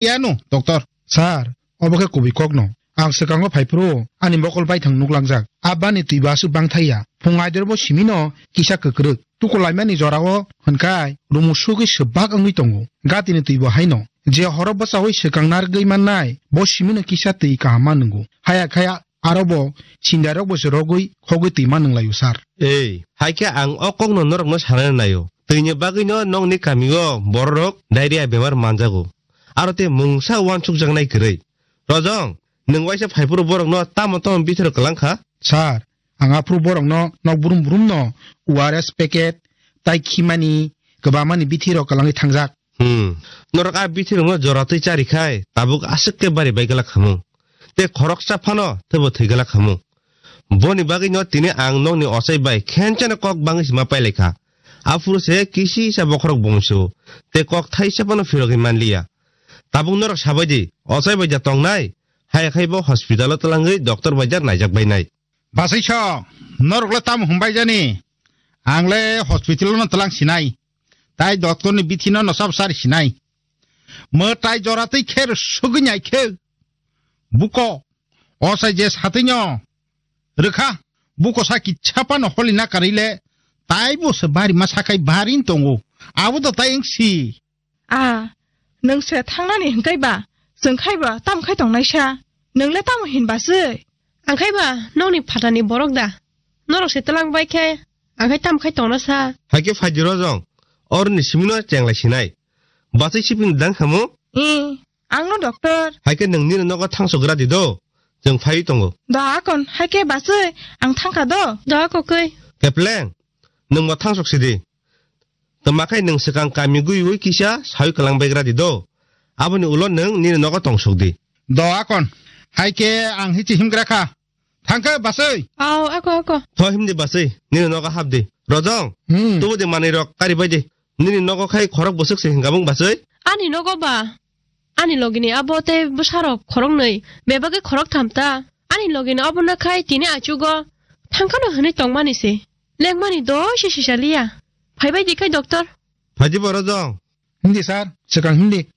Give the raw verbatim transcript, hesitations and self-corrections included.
Yano, doctor. Sir, obo khe kubui kokno. Ang swkango phaiphuru ani mokol baithang nuklangjak. Abani twi bo aswk bangthaiya. Phung aider bo simino kisa kwkrwk. Tukulaimani jorao hwnkhai rumu sugwi swbak wngwi tongo. Gatini twi bo haino. Je horo bwchaui swkang narwgwi mannai, bo simino kisa twi kaham ma nwngo. Haya khaya aro bo sindairok bo se rogwi khogwi twi ma nwnglaio, sir. Ei, hai khe ang o kokno norokno sanani naio. Twini bagwino nokni kamio bororok diarrhea bemar manjago. Aro tei mungsa uansukjaknai kwrwi. Rojong, nwng waisa phaiphuru borokno tamo tamo bithoro kwlang kha? Sir, ang aphuru borokno nok brum brumno O R S packet, tai khimani, kwbangmani bithirok kwlangwi thangjak. Hmm. Norok a bithirokno jora twi charikhai tabuk aswk khe bari bai glak khamung. Tei khoroksa phano teibo thwi glak khamung. Boni bagwino tini ang nokni ochai bai khenchano kok bangwi sima pailai kha. Aphuru se kisisa bokhorok bungsu tei kok thaisa phano phirogwi manliya. Tabuk norok sabai di, ochai bai ja tongnai, hai khai bo hospital o twlangwi doctor bai ja naijak bainai. Basai so, norok le tamo hwnbai jani? Ang le hospital no twlang sinai. Tai doctor ni bithi no no sab sari sinai. Mo tai jora tei kher sugwi nyai khe. Buko, osai je satwi no. Rwkha, buko sa kichapa no holi na karile. Tai bo se bari ma sakai bari tongo. Abo do tai engsi. A, nwng se thangnani hwnkhe ba, chwng khai ba tam khai tongnaisa? Nwng le tamo hin ba se? Ang khai ba nokni phatani borok da? Norok se twlang bai khe, ang khai tam khai tongna sa? Hai khe phai di Rojong, oroni simino chenglai sinai. Bachai sipini dang khamu? Ee, ang no doctor. Hai khe nwng nini nogo thangsogra di do, chwng phaiwi tongo. Da akon, hai khe bachai, ang thangkha do. Da akokoi. Kepleng, nwng bo thangsok sidi. Tma khai nwng swkang kami gwiwi kisa sawi kwlang baigra di do. Aboni ulo nwng nini nogo tongsok di. Do akon, hai khe ang hichi himgra kha. Thangkhe basai. Ao, ako, ako. Tho himdi basai, nini nogo hapdi. Rojong, hmm, tubu di manwi rok kari bai di. Nini nogo khai khorok bwswk se hingkabung basai? Ani nogo ba? Ani logini abo tei bwsarok khoroknwi, bebagwi khoroktham ta. Ani logini obono khai tini achugo thangkhano hwnwi tongmani se. Lengmani doi se sisaliya. Phaibai di khai doctor. Phaidi bo Rojong. Hindi sir, swkang hindi.